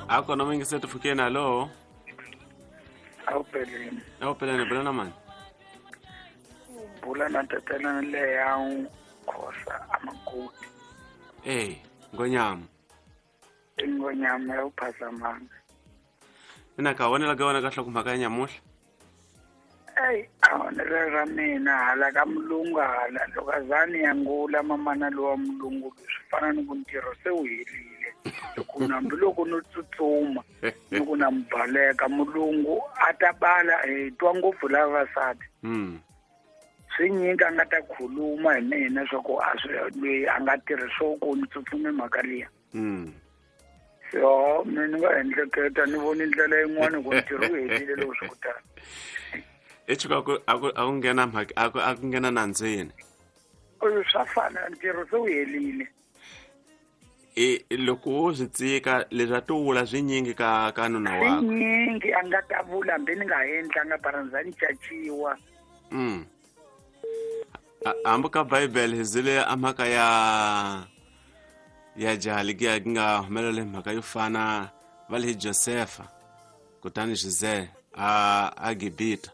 A kona muyingiseri pfukeni, hallo. Awupeleni. Awupeleni, bula na mani? Bula na tatana leya Khosa amakoti. Ey, ngonyama. Ingonyama ya uphasamanga. Ina ka vonela ka wena ka hlokomhaka ya nyamuhla. Eyi, a vonelo ra mina hala ka mulungu hala loko a za ni ya ngula mamana lowa mulungu swi fana ni ku ntirho se wu helile, loko hambiloko no tsutsuma ni ku na mubaleka mulungu a ta bala hi twa ngopfu lavavasati. Swi nyingi a nga ta khuluma hi mina swa ku a swi loyi a nga tirhi swo ku ni tsutsume mhaka liya. So mina ni nga endleketa ni voni ndlela yin'wana ku ntirho wu helile loko swi kutani. I tshuka ku a ku a ku nghena mhaka a ku a ku nghena nandzeni. Oyo swa fana, ntirho se wu helile. I loko wo swi tsika leswi a to vula swinyingi ka nuna wakwe. Swinyingi a nga ta vula hambi ni nga endlanga bara ni za ni caciwa. Hambi ka Bible hi zile a mhaka ya jaha likiya ki nga humelela mhaka yo fana va le Josefa kutani Jose a Gibita.